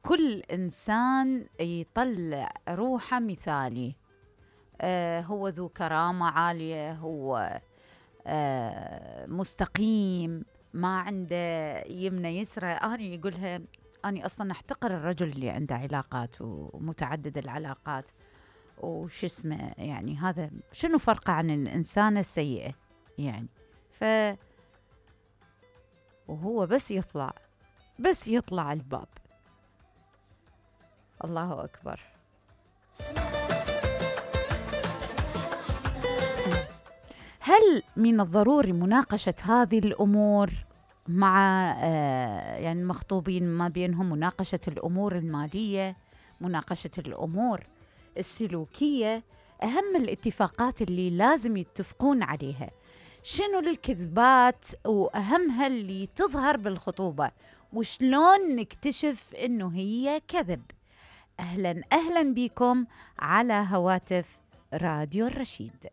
كل إنسان يطلع روحه مثالي. هو ذو كرامة عالية، هو مستقيم، ما عنده يمنى يسرى. أنا يقولها أنا أصلا أحتقر الرجل اللي عنده علاقات ومتعدد العلاقات وش اسمه، يعني هذا شنو فرقه عن الإنسانة السيئة يعني. وهو بس يطلع الباب، الله أكبر. هل من الضروري مناقشة هذه الأمور مع يعني المخطوبين ما بينهم؟ مناقشة الأمور المالية، مناقشة الأمور السلوكية، أهم الاتفاقات اللي لازم يتفقون عليها. شنو الكذبات وأهمها اللي تظهر بالخطوبة، وشلون نكتشف إنه هي كذب؟ أهلا بكم على هواتف راديو الرشيد.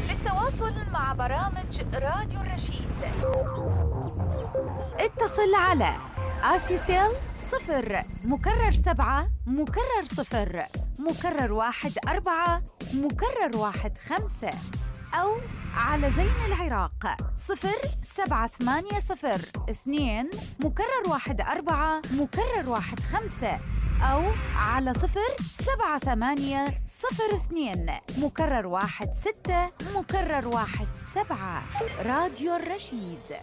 للتواصل مع برامج راديو الرشيد اتصل على RCCL 0 مكرر 7 مكرر 0 مكرر 1 4 مكرر 1 5، أو على زين العراق 0780 2 مكرر 1 4 مكرر 1 5، أو على 078 02 مكرر 1 6 مكرر 1 7. راديو الرشيد.